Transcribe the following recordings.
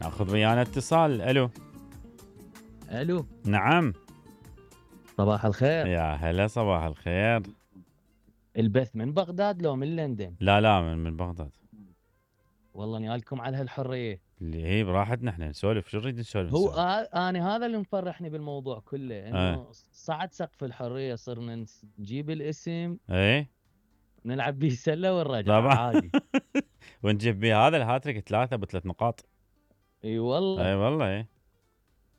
ناخذ ويانا اتصال. الو. الو. نعم. صباح الخير. يا هلا صباح الخير. البث من بغداد لو من لندن؟ لا من بغداد. والله نيالكم على هالحريه. اللي هي براحتنا احنا نسولف. شو نريد نسولف؟ هو انا هذا اللي مفرحني بالموضوع كله، انه صعد سقف الحريه، صرنا نجيب الاسم ايه نلعب بيه سله ونرجع طبعا عادي. ونجيب بيه هذا الهاتريك 3 ب3 نقاط. اي والله. اي والله. اي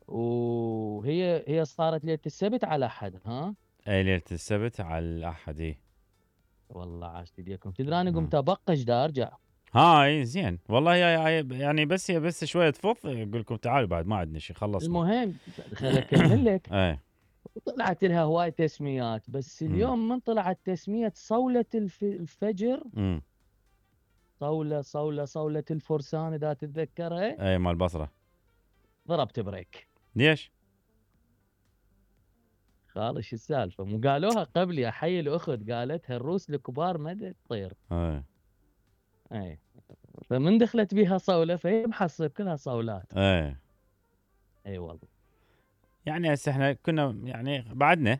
وهي صارت ليله السبت على احد. ها اي ليله السبت على الاحد. اي والله عاشت ايديكم. تدري انا قمت ابقش دا ارجع. هاي زين والله. يعني بس شويه تفض اقول لكم تعالوا بعد ما عندنا شيء خلصنا. المهم خليني اكمل لك. اي طلعت لها هواي تسميات، بس اليوم من طلعت تسميه صوله الفجر. صولة الفرسان اذا تتذكرها. اي مال البصره. ضربت بريك. ليش؟ خالص شو السالفه؟ مو قالوها قبلي؟ احيي الاخت قالتها الروس الكبار ما تطير. اي فمن دخلت بيها صوله فهي محصب كلها صولات. اي والله. يعني هسه احنا كنا يعني بعدنا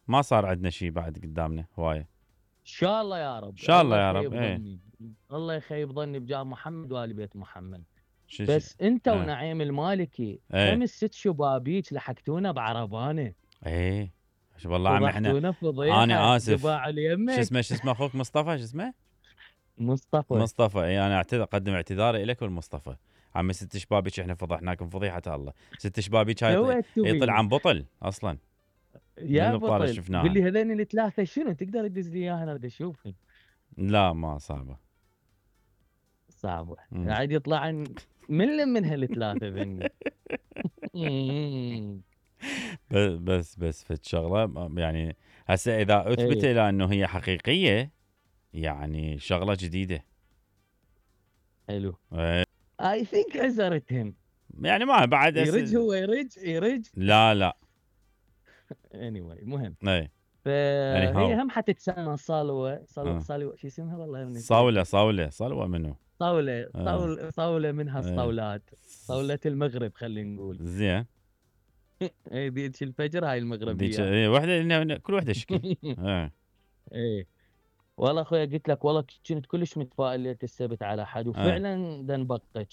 ما صار عندنا شيء بعد قدامنا هوايه. ان شاء الله يا رب. ان شاء الله يا رب. الله يخيب ظني بجاه محمد وآل بيت محمد. بس انت ونعيم المالكي 5-6 شبابيك لحقتونا بعربانه. والله عمي احنا انا اسف. شو اسمه اخوك مصطفى؟ شو اسمه؟ مصطفى. انا اقدم اعتذاري لك والمصطفى. عمي 6 شبابيك احنا فضحناكم فضيحه الله. 6 شبابيك هاي يطلع عن بطل اصلا. يا بطل قول لي هذين الثلاثه شنو تقدر تدز لي اياها انا بدي اشوفهم. لا ما صعبه قاعد يطلع من هالثلاثه ذني. بس فد شغله يعني هسه اذا اثبت الى انه هي حقيقيه يعني شغله جديده. حلو. اي ثينك عزرتهم يعني ما بعد يرج هو يرج لا anyway المهم فهي هم حتتسمى صالوه شو اسمها والله صالوه منو صولة منها الصولات. صولة المغرب خلينا نقول. زين. اي ديك الفجر هاي المغربيه. وحده كل وحده شكل. ايه والله اخويا قلت لك والله كنت كلش متفائل ليله السبت على حد وفعلا دنبقج.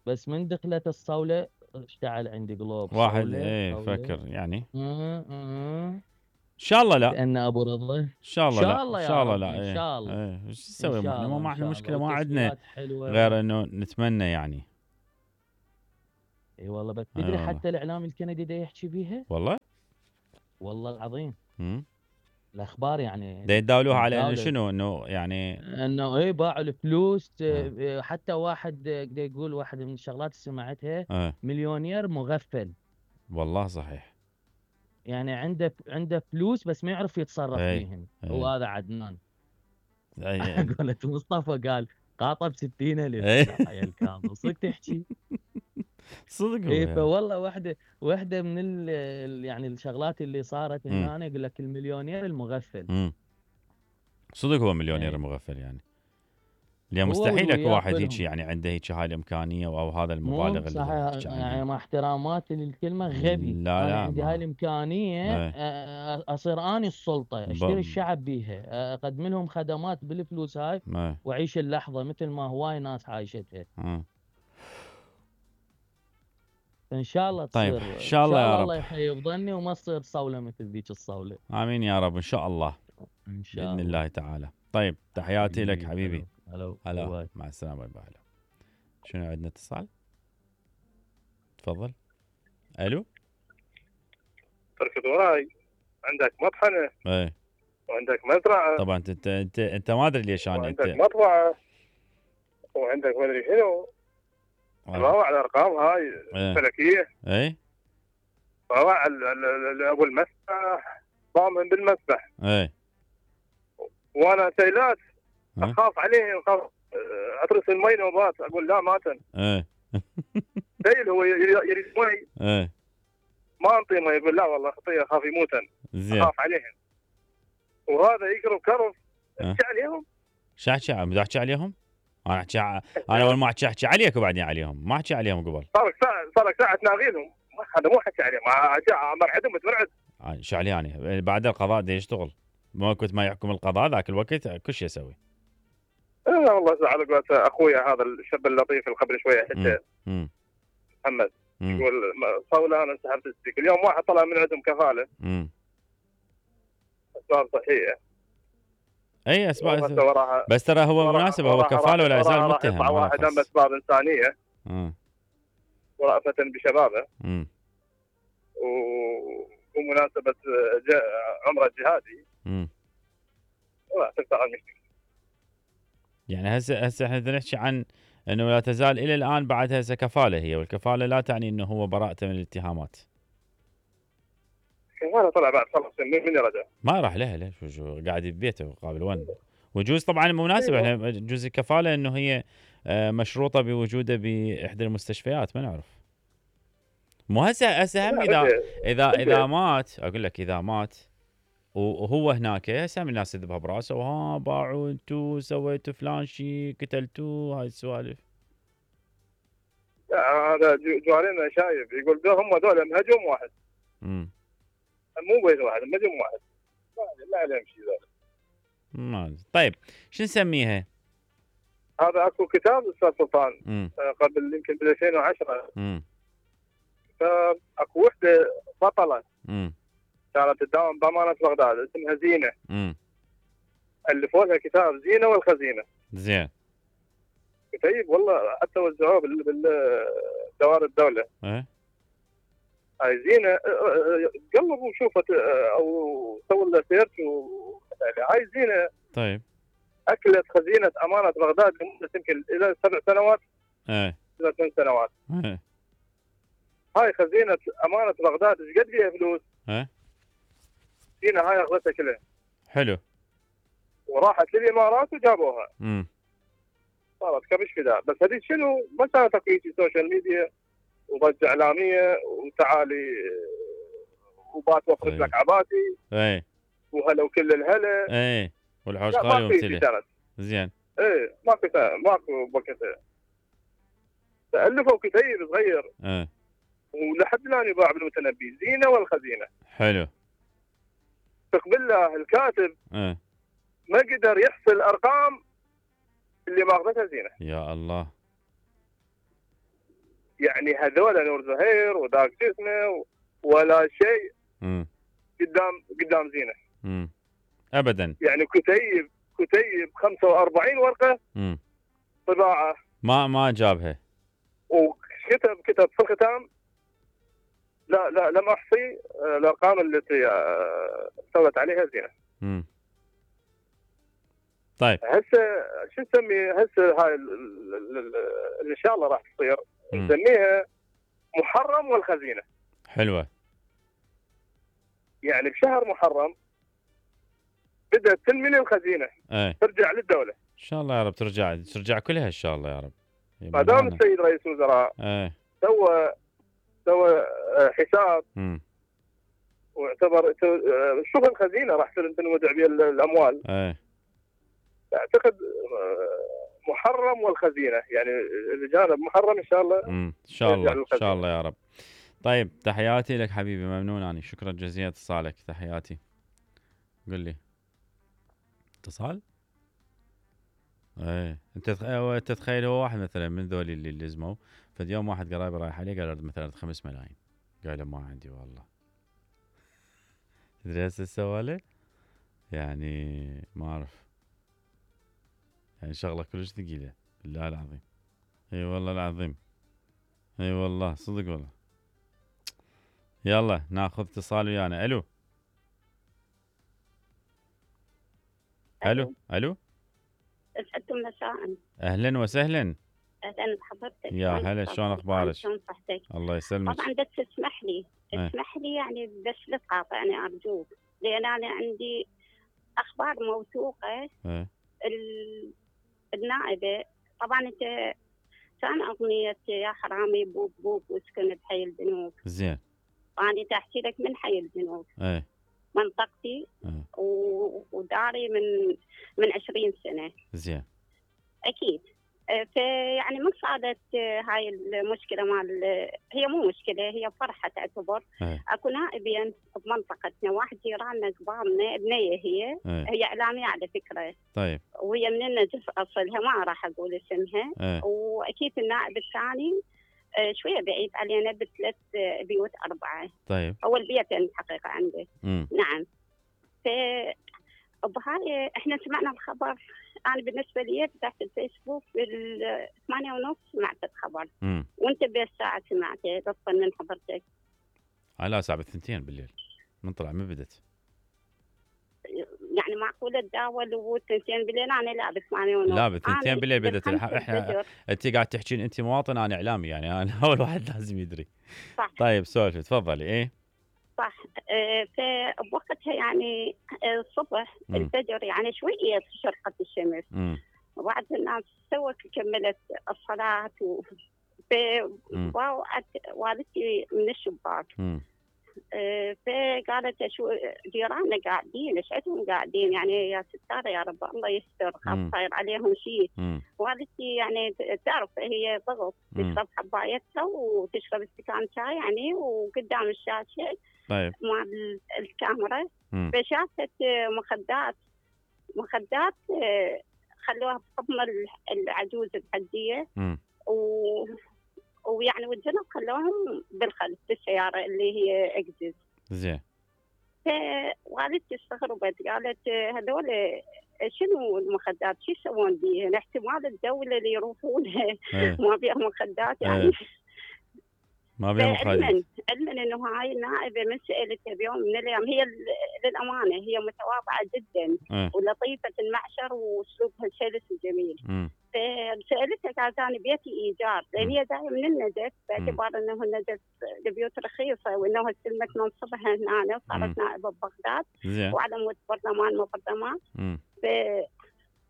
بس من دخلت الصوله اشتعل عندي قلوب واحد. فكر يعني ان شاء الله لا. لان ابو رضا ان شاء الله لا. ان شاء الله لا. ان شاء الله. ايش نسوي؟ ما احنا المشكله ما عندنا غير انه نتمنى يعني. اي والله. بس تدري حتى الاعلام الكندي دا يحكي بيها. والله العظيم. الاخبار يعني دا يتداولوها على انه شنو انه يعني انه باعوا الفلوس. حتى واحد دا يقول واحد من الشغلات اللي سمعتها مليونير مغفل. والله صحيح. يعني عنده فلوس بس ما يعرف يتصرف فيهم. وهذا عدنان. قالت مصطفى قال قاطب 60,000. يا الكاظم صدق تحكي صدق. فوالله واحده من يعني الشغلات اللي صارت هنا أنا يقول لك المليونير المغفل. صدق هو مليونير مغفل يعني. اليوم مستحيل لك واحد هيك يعني عنده هيك هاي الامكانيه او هذا المبالغ اللي يعني مع احتراماتي للكلمه غبي. لا انا عندي هاي الامكانيه اصير اني السلطه اشتري الشعب بيها اقدم لهم خدمات بالفلوس هاي واعيش اللحظه مثل ما هواي ناس عايشتها. ان شاء الله تصير. طيب ان شاء الله يا رب. الله يخيب ظني وما تصير صوله مثل ذيك الصوله. امين يا رب ان شاء الله. ان شاء باذن الله تعالى. طيب تحياتي لك حبيبي. هلا مع السلامه. باي. شنو عندنا اتصال؟ تفضل. الو. تركض وراي. عندك مطحنه. وعندك مزرعه. طبعا انت ما ادري ليش انا عندك مطبعه وعندك ما ادري شنو. روع الارقام هاي فلكيه. روع ابو المسبح ضامن بالمسبح. وانا سيلات اخاف عليهم اترس المي نوبات اقول لا ماتن. سيل هو يريد مي. ما انطي مي يقول لا والله اعطيه اخاف يموتن. اخاف عليهم. وهذا يقرب كرف. احكي عليهم. شو احكي عليهم؟ انا اول ما احكي عليك وبعدين عليهم، ما احكي عليهم قبل. صار لك ساعه تناغيلهم، هذا مو حكي عليهم، مرعدهم متمرعد. شو علي يعني بعد القضاء دي يشتغل، ما كنت ما يحكم القضاء ذاك الوقت كل شيء يسوي. لا والله على قولة اخويا هذا الشاب اللطيف اللي قبل شويه حتى محمد يقول صولة انا انسحبت السلك، اليوم واحد طلع من عندهم كفاله اسباب صحيه. اي اسباب، بس ترى هو مناسب، هو كفاله ولا يزال متهم. واحد هم اسباب انسانيه ورأفة بشبابه ومناسبه عمره الجهادي ولا تفتح المشكله. يعني هسه احنا نحكي عن انه لا تزال الى الان بعد هسه كفاله هي، والكفاله لا تعني انه هو براءته من الاتهامات. كفاله طلع بعد خلص من يرجع؟ ما راح لها شو قاعد ببيته قابل ون. وجوز طبعا مناسبه احنا جزء الكفاله انه هي مشروطه بوجوده باحدى المستشفيات، ما نعرف. مو هسه هم اذا مات، اقول لك اذا مات وهو هناك هسه من الناس تذبها براسه وها باعوا انتو سويتوا فلان شيء قتلتوا هاي السوالف. لا هذا جوارينا شايف يقول هم هذول مهجوم واحد. مو بيت واحد مهجوم واحد. ما عليهم شيء ذلك. طيب شو نسميها؟ هذا اكو كتاب استاذ سلطان قبل يمكن ب 2010 كتاب اكو وحده بطله كانت تداوم بامانه بغداد اسمها زينه. الفوا لها كتاب زينه والخزينه. زين. كتيب والله حتى وزعوه بالدوائر الدوله. هاي زينه قلبوا وشوفت او سووا لها سيرش هاي زينه. طيب. اكلت خزينه امانه بغداد لمده يمكن الى 7 سنوات. الى 8 سنوات. هاي خزينه امانه بغداد ايش قد فيها فلوس؟ زينه هاي اخذتها كلها. حلو. وراحت للامارات وجابوها. صارت كبش فداء، بس هذيك شنو ما كانت اكو سوشيال ميديا وضجه اعلاميه وتعالي وبات وفرت لك عباتي. وهلا وكل الهلا. والحوش خالي ومتلي. زين. ماكو وقتها. تألفوا كتيب صغير. ولحد الان يباع بالمتنبي زينه والخزينه. حلو. تقبل له الكاتب ما قدر يحصل الارقام اللي ماخذتها زينه. يا الله. يعني هذول نور زهير وذاك شو اسمه ولا شيء قدام زينه. ابدا. يعني كتيب 45 ورقه طباعه ما جابها. وكتب في الختام لا لم احصي الارقام التي استولت عليها زينه. طيب هسه شو نسمي هسه هاي اللي ان شاء الله راح تصير نسميها محرم والخزينه. حلوه. يعني بشهر محرم بدأت تنمي الخزينه ترجع للدوله. ان شاء الله يا رب ترجع كلها ان شاء الله يا رب. ما دام السيد رئيس الوزراء سوى حساب واعتبر شوف الخزينه راح تنودع بها الاموال. اعتقد محرم والخزينه يعني الجانب محرم ان شاء الله. ان شاء الله ان شاء الله يا رب. طيب تحياتي لك حبيبي، ممنون اني، شكرا جزيلا اتصالك، تحياتي. قل لي اتصال. انت تتخيل هو واحد مثلا من ذولي اللي لزموا فد يوم واحد قرايبي رايح عليه قال مثلا 5 ملايين، قال له ما عندي والله. تدري هسه سوى له؟ يعني ما اعرف، يعني شغله كلش ثقيله بالله العظيم. اي والله العظيم، اي والله صدق والله. يلا ناخذ اتصال ويانا. الو الو الو. اسعدكم مساء. اهلا وسهلا. اهلا بحضرتك. يا هلا، شلون اخبارك؟ شلون صحتك؟ الله يسلمك. طبعا بس اسمح لي يعني بس لا تقاطعني ارجوك، لان انا عندي اخبار موثوقه. النائبه طبعا انت كان اغنيه يا حرامي بوب بوب واسكن بحي البنوك. زين. انا تحكي لك من حي البنوك. منطقتي وداري من 20 سنه. زين. اكيد. فيعني من صارت هاي المشكله مال، هي مو مشكله، هي فرحه تعتبر. اكو نائبين بمنطقتنا، واحد جيراننا كبارنا، بنيه هي اعلاميه على فكره. طيب. وهي من النجف اصلها، ما راح اقول اسمها. واكيد النائب الثاني شويه بعيد علينا ب3 بيوت 4. طيب. اول بيتين الحقيقه عنده. نعم. بهاي احنا سمعنا الخبر. انا بالنسبه لي فتحت الفيسبوك بال8:30 سمعت الخبر. وانت بالساعه سمعته بطل من حضرتك. لا الساعه 2 بالليل من طلع ما بدت. يعني معقوله تداول و2 بالليل؟ انا لا ب8:30. لا ب2 بالليل بدت. احنا انت قاعد تحكين انت مواطن انا اعلامي، يعني انا اول واحد لازم يدري. صح. طيب سولفي تفضلي. ايه صح. فبوقتها يعني الصبح الفجر يعني شويه شرقت الشمس. وبعد الناس كملت الصلاه ووقعت والدتي من الشباك. فقالت شو جيراننا قاعدين، ايش عندهم قاعدين؟ يعني يا ستاره يا رب الله يستر، خاف صاير عليهم شيء. والدتي يعني تعرف هي ضغط، تشرب حبايتها وتشرب استكان شاي يعني وقدام الشاشه. طيب. مع الكاميرا. فشافت مخدات خلوها بحضن العجوز الحجيه. ويعني والجنب خلوهم بالخلف بالسياره اللي هي اكزز. زين. فوالدتي استغربت، قالت هذول شنو المخدات؟ شو يسوون بيها؟ احتمال الدوله اللي يروحون ما بيها مخدات يعني. ما بيها مخدرات. علما انه هاي النائبه من سالتها بيوم من الايام، هي للامانه هي متواضعه جدا ولطيفه المعشر واسلوبها سلس وجميل. فسالتها قالت انا بيتي ايجار، لان هي جايه من النجف باعتبار انه النجف البيوت رخيصه، وانه استلمت منصبها هنا وصارت نائبه ببغداد وعلى مود برلمان مو برلمان.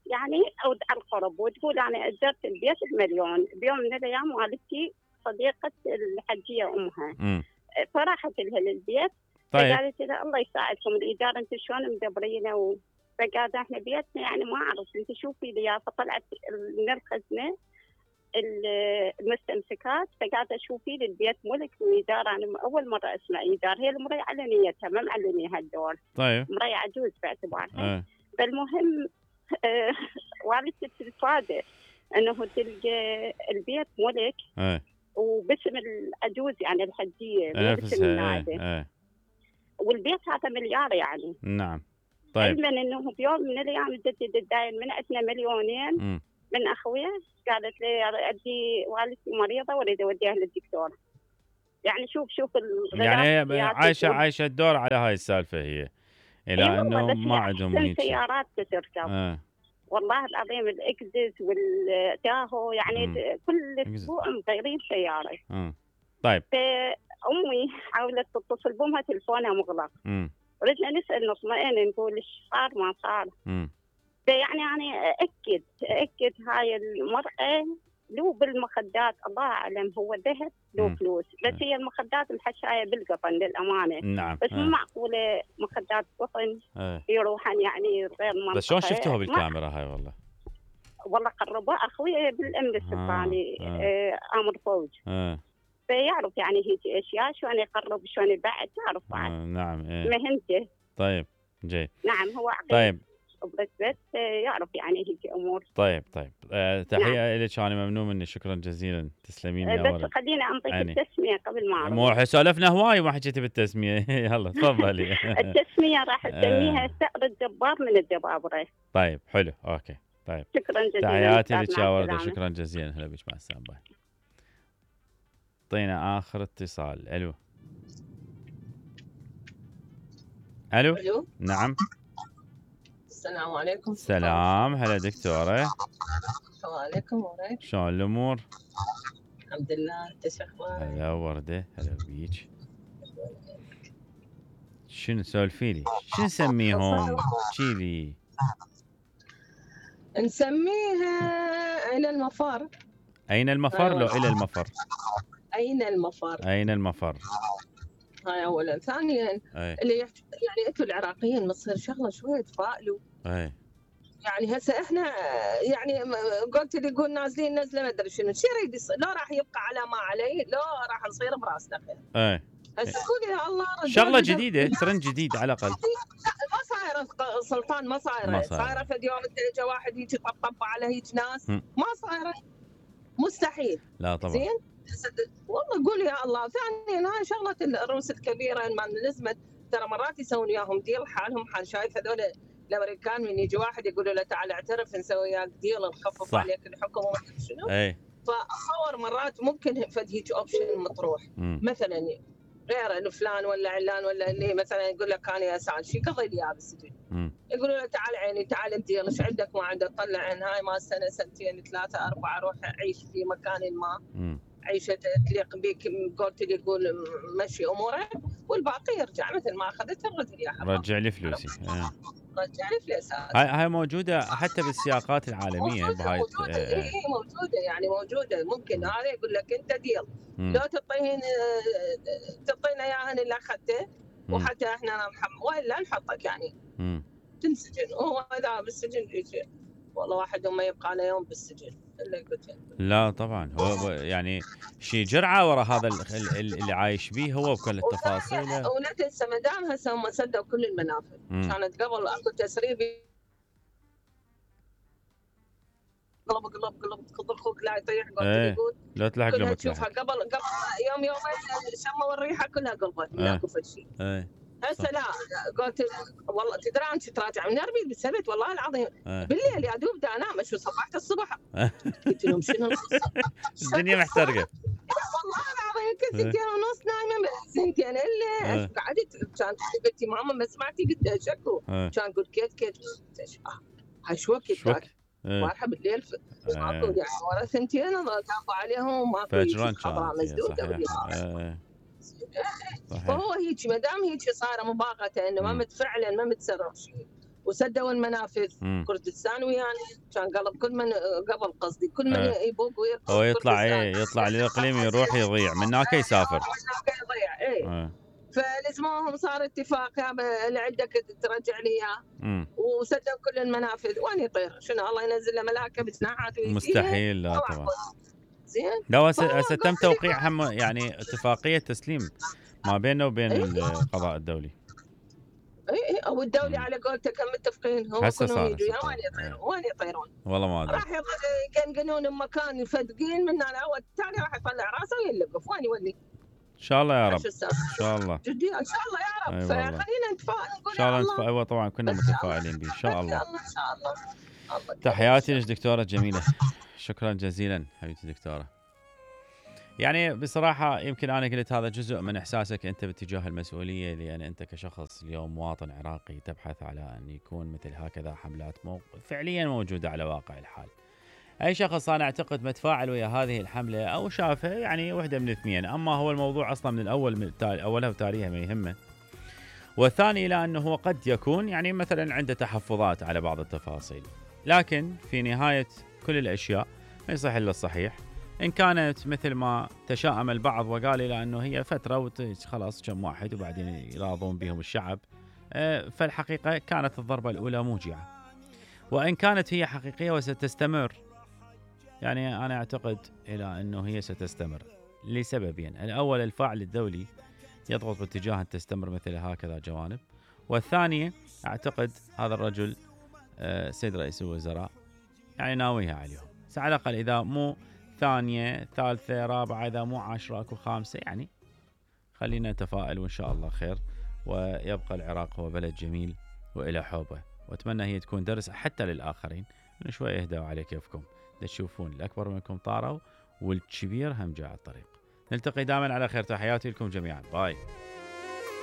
يعني او على القرب، وتقول انا اجرت البيت ب1,000,000. بيوم من الايام والدتي صديقه الحجيه امها فراحت لها للبيت. طيب. فقالت لها الله يساعدكم الايجار انتم شلون مدبرينه؟ فقالت احنا بيتنا يعني ما اعرف انت شوفي لي. فطلعت من الخزنه المستمسكات، فقالت شوفي لي البيت ملك وايجار. انا اول مره اسمع ايجار. هي المرأة على نيتها ما معلنيها الدور. طيب. مرأة عجوز باعتبارها. فالمهم والدتي تتفادى انه تلقى البيت ملك وباسم العجوز يعني الحجيه باسم النائبه. والبيت هذا مليار يعني. نعم. طيب. علما انه بيوم من الايام جدتي تداين من عندنا 2,000,000 من اخويا. قالت لي عندي والدتي مريضه واريد اوديها للدكتور. يعني شوف يعني عايشه الدور على هاي السالفه هي، الى انه ما عندهم هيك سيارات تركب. والله العظيم الاكزس والتاهو يعني كل اسبوع مغيرين سياره. طيب. فامي حاولت تتصل بامها تلفونها مغلق. ردنا نسال نطمئن نقول ايش صار ما صار. فيعني انا اكد هاي المراه لو بالمخدات الله اعلم هو ذهب لو فلوس، بس هي المخدات محشايه بالقطن للامانه. نعم. بس مو معقوله مخدات قطن يروحن يعني غير منطقه. بس شلون شفتوها بالكاميرا هاي؟ والله قربوا اخوي بالامن السلطاني امر فوج. فيعرف يعني هيك اشياء شلون يقرب شلون يبعد تعرف بعد. نعم. مهنته. طيب جيد. نعم هو عقيد. طيب. بس يعرف يعني هيك امور. طيب. تحيه لك، انا ممنون مني، شكرا جزيلا، تسلمين يا ولد. بس خليني انطيك التسميه قبل ما اعرف. مو سولفنا هواي وما حكيتي بالتسميه. يلا تفضلي. التسميه راح اسميها ثأر الجبار من الجبابره. طيب حلو اوكي. طيب شكرا جزيلا. تحياتي لك يا ورده، شكرا جزيلا. هلا بك، مع السلامه. باي. اعطينا اخر اتصال. الو. نعم. السلام عليكم. السلام. هلا دكتوره. السلام عليكم. وراك شلون الامور؟ الحمد لله. انت شو اخبارك؟ هلا ورده. هلا بيك. شنو سولفي لي؟ شنو نسميهم؟ احكي لي. نسميها أين المفر. أين المفر لو إلى المفر؟ أين المفر. هاي أولا. ثانيا اللي يعني أنتم العراقيين مصير شغلة شوية تفائلوا. يعني هسه احنا يعني قلت لي يقول نازلين نزله ما ادري شنو شو يريد يصير، لا راح يبقى على ما عليه، لا راح نصير براسنا خير. هسه قول يا الله شغله جديده، ترند جديد على الاقل. ما صايره سلطان، ما صايره فد يوم اجى واحد يجي طبطب على هيك ناس، ما صايره، مستحيل. لا طبعا. زين والله قول يا الله. ثانيا هاي شغله الروس الكبيره ما نلزمت، ترى مرات يسوون وياهم ديل حالهم حال. شايف هذول الامريكان من يجي واحد يقولوا له تعال اعترف نسوي وياك ديل نخفف عليك الحكم وما ادري شنو. فاتصور مرات ممكن فد هيك اوبشن مطروح. مثلا غير فلان ولا علان ولا اللي مثلا يقول لك انا اسال شي قضي لي اياه بالسجن، يقولوا له تعال عيني تعال الديل ايش عندك ما عندك، طلع عن هاي ما سنه سنتين ثلاثه اربعه، روح عيش في مكان ما عيشه تليق بك، قلت لي يقول مشي امورك والباقي يرجع مثل ما اخذت الرجل يا حبيبي رجع لي فلوسي. رجع لي فلوسي. هاي موجوده حتى بالسياقات العالميه بهاي موجوده. موجوده يعني موجوده. ممكن هذا يقول لك انت ديل لو تعطينا اياها اللي اخذته وحتى احنا والا نحطك يعني تنسجن. وهو اذا بالسجن يجي والله واحد ما يبقى له يوم بالسجن الا قلت. لا طبعا هو يعني شيء جرعه ورا هذا اللي عايش به هو بكل التفاصيل. ولا تنسى ما دام هسه هم سدوا كل المنافذ. كانت قبل اكو تسريب قلب تخض اخوك لا يطيح. قلت يقول لا تلحق لما تشوفها قبل يومين شموا الريحه كلها قلبت ماكو فد شيء. هسه لا قلت والله تدري انت تراجع من اربيل بالسبت والله العظيم بالليل يا دوب دا انام شو صبحت الصبح قلت لهم شنو القصه الدنيا محترقه والله العظيم كنت 2:30 نايمه سنتين الا قعدت كانت قلت ماما ما سمعتي قلت شكو كان قلت كيت هاي شو وقت واضحه بالليل يعني ورا سنتين كافوا عليهم ماكو خضراء مسدوده فهو هيك ما دام هيك صايره مباغته انه ما فعلا ما متصرف شيء وسدوا المنافذ. كردستان ويانا كان قلب كل من قبل قصدي كل من يبوق ويرقص هو يطلع للاقليم يروح يضيع من هناك يسافر يضيع فلزموهم صار اتفاق اللي عندك ترجع لي اياه وسدوا كل المنافذ وين يطير شنو الله ينزل له ملائكه بجناحات مستحيل. لا طبعا زين. لا هسه تم توقيع هم يعني اتفاقيه تسليم ما بيننا وبين القضاء الدولي. اي او الدولي على قولته كم متفقين هم كلهم يجوا وين يطيرون والله ما ادري. راح يقنقنون بمكان يفدقين من هنا والثاني راح يطلع راسه ويلقف وين يولي. ان شاء الله يا رب. ان شاء الله جدي ان شاء الله يا رب. فخلينا نتفائل نقول ان شاء الله نتفائل. ايوه طبعا كنا متفائلين به ان شاء الله. ان شاء الله. تحياتي لك دكتوره جميله. شكرا جزيلا حبيبتي دكتوره. يعني بصراحه يمكن انا قلت هذا جزء من احساسك انت باتجاه المسؤوليه، لان انت كشخص اليوم مواطن عراقي تبحث على ان يكون مثل هكذا حملات فعليا موجوده على واقع الحال. اي شخص انا اعتقد متفاعل ويا هذه الحمله او شافها يعني وحده من الاثنين، اما هو الموضوع اصلا من الاول من اولها وتاريخها ما يهمه، والثاني الى انه هو قد يكون يعني مثلا عنده تحفظات على بعض التفاصيل، لكن في نهايه كل الاشياء ما يصح الا الصحيح. ان كانت مثل ما تشاءم البعض وقال الى انه هي فتره خلاص كم واحد وبعدين يراضون بهم الشعب، فالحقيقه كانت الضربه الاولى موجعه، وان كانت هي حقيقيه وستستمر، يعني أنا أعتقد إلى أنه هي ستستمر لسببين. الأول الفاعل الدولي يضغط باتجاه أن تستمر مثل هكذا جوانب، والثانية أعتقد هذا الرجل سيد رئيس الوزراء يعني ناويها عليهم، على الأقل إذا مو ثانية ثالثة رابعة إذا مو 10 أكو 5، يعني خلينا نتفائل وإن شاء الله خير، ويبقى العراق هو بلد جميل وإلى حوبه، وأتمنى هي تكون درس حتى للآخرين إنه شوي اهدوا على كيفكم تشوفون الأكبر منكم طاروا والكبير هم جاء على الطريق. نلتقي دائما على خير. تحياتي لكم جميعا. باي.